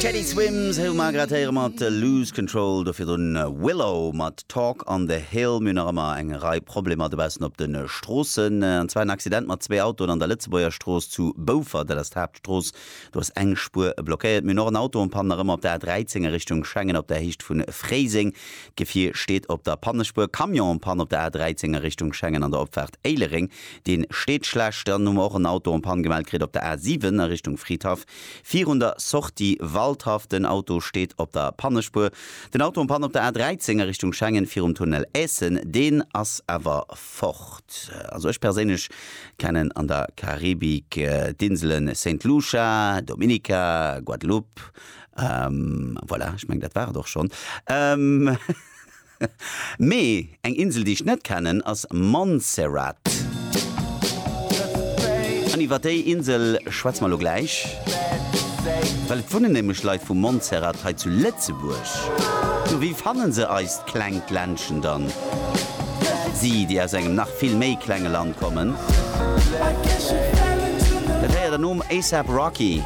Teddy Swims hu mer grad héiere mat Lose Control, do virdrun Willow mat Talk on the Hill. Mir hunn nach ëmmer eng Rei Problemer dobaussen op de Stroossen, an zwar en Accident mat zwee Autoen an der Lëtzebuerger Strooss zu Boufer, dat ass d'Haaptstrooss, do ass eng Spuer blockéiert. Mir hunn och en Auto en panne nach ëmmer op der A13 a Richtung Schengen op der Héicht vu Fréiseng. D'Gefier steet op der Pannespuer. Camion en panne op der A13 a Richtung Schengen an der Opfaart Éilereng, dee steet schlecht. Dann hu mer och en Auto en panne gemellt kritt op der A7 a Richtung Fridhaff virun der Sortie Waldhaff. Den Auto steet op der Pannespuer. Den Auto en panne op der A13 a Richtung Schengen virum Tunnel Aessen, deen ass awer fort. Also ech perséinlech kennen an der Karibik d'Inselen Saint Lucia, Dominica, Guadeloupe, Voilà, ech mengen dat war et och schonn. Mee eng Insel déi ech net kennen ass Montserrat. An iwwer déi Insel schwätze mer elo gläich, well et wunnen nämlech Leit vu Montserrat hei zu Lëtzebuerg. Jo, wéi fanne se eist klengt Ländchen dann? Si, déi aus engem nach vill méi klenge Land kommen. Dat héiert der nom ASAP Rocky.